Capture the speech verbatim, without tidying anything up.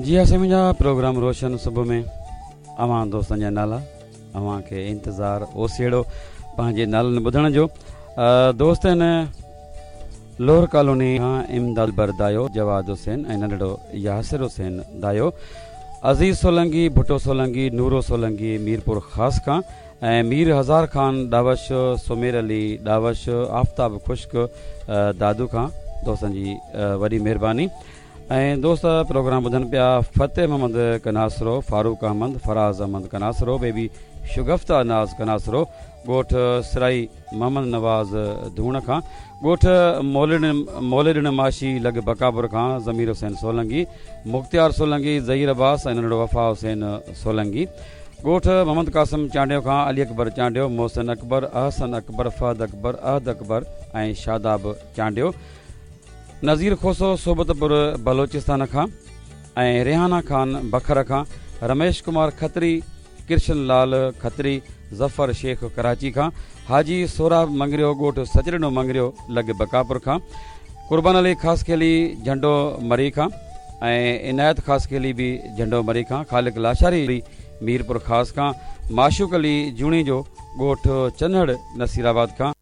جي ها سائين منهنجا، پروگرام روشن صبح ۾ اوهان دوستن جا نالا، اوهان کي انتظار اوسيئڙو پنهنجي نالن ٻڌڻ جو. دوست آهن لوهر ڪالوني کان امداد بر دايو، جواد حسين ۽ ننڍڙو ياسر حسين دايو، عزيز سولنگي، ڀٽو سولنگي، نورو سولنگي ميرپور خاص کان ۽ مير هزار خان ڏاوش، سمير علي ڏاوش، آفتاب خشڪ دادو کان. دوستن جي وڏي مهرباني. ۽ دوست پروگرام ٻڌن پيا فتح محمد ڪناسرو، فاروق احمد، فراز احمد ڪناسرو، بيبي شگفته ناز ڪناسرو، ڳوٺ سرائي محمد نواز ڌوڻ کان، ڳوٺ موليڏڻ ماشي لڳ بڪابر کان ضمير حسين سولنگي، مختيار سولنگي، ظهير عباس ۽ ننڍڙو وفا حسين سولنگي، ڳوٺ محمد قاسم چانڊيو کان علي اڪبر چانڊيو، محسن اڪبر، احسن اڪبر، فهد اڪبر، احد اڪبر ۽ شاداب چانڊيو، نذير کوسو صحبتپور بلوچستان کان ۽ ريحانه خان بکر کان، رميش ڪمار کتري، ڪرشن لال کتري، ظفر شيخ ڪراچي کان، حاجي سهراب مڱريو ڳوٺ سچڏنو مڱريو لڳ بڪاپور کان، قربان علي خاصخيلي جهنڊو مري کان ۽ عنايت خاصخيلي به جهنڊو مري کان، خالق لاشاري ميرپور خاص کان، معشوق علي جوڻيجو ڳوٺ چنهڙ نصيرآباد کان.